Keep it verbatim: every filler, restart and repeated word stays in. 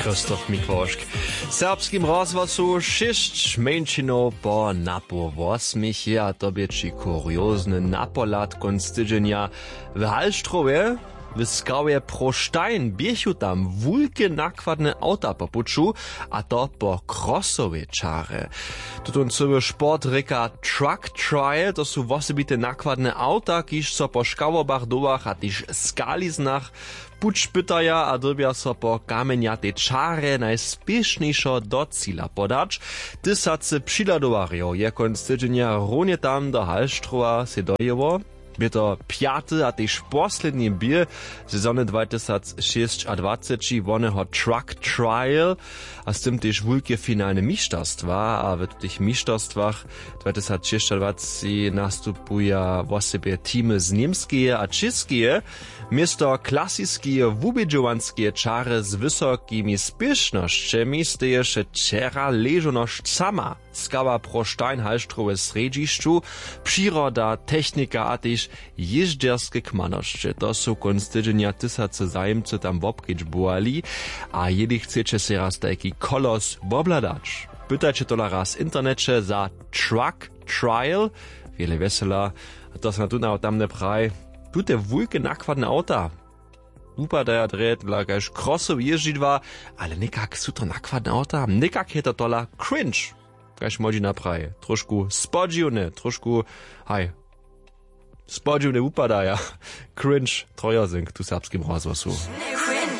Christoph Mikłošk. W serbskim rozhłosu šěsć mjeńšinow po napoł wosmich je a to bě ći kuriozny napohlad kónc tydźenja. W Halštrowje w skałje Proštajn běchu tam wulke nakładne awta po puću, a to po crossowej čarje. Tutón cyły sport rěka truck trial, to su wosebite nakładne awta, kiž so po škałobach, dołach a tež skaliznach puć pytaja a dyrbja so po kamjenjatej čarje najspěšnjejšo do cila podać. Tysacy přihladowarjow je kónc tydźenja runje tam do Halštrowa sej dojěło. Bě to pjaty a tež posledni bě sezony dwatysacšěsćadwaceći woneho truck trial, a z tym tež wulke finalne mišterstwa. A w tych mišterstwach dwatysacšěsćadwaceći nastupuja wosebje teamy z Němskeje a Čěskeje. Město klasiskeje wubědźowanskeje čary z wysokimi spěšnosćemi steješe wčera ležonosć sama. Skała pro Steinhallstrowe srjedźišću, přiroda, technika a tež jězdźerske kmanosće, to su kónc tydźenja tysacy zajimcy tam wobkedźbowali. A jeli chceće sej raz tajki kolos wobhladać, pytajće tola raz w interneće za truck trial. Wjele wjesela. A to so na tuna tamne praj, tute wulke nakładne awta wupadaja drje dla kaž krosow jězdźidła, ale někak su to nakładne awta, někak je to tola cringe. Kaž młodźina praji, trošku spodźiwne, trošku, haj, spodźiwne wupadaja. Cringe trojazynk tu w serbskim rozhłosu.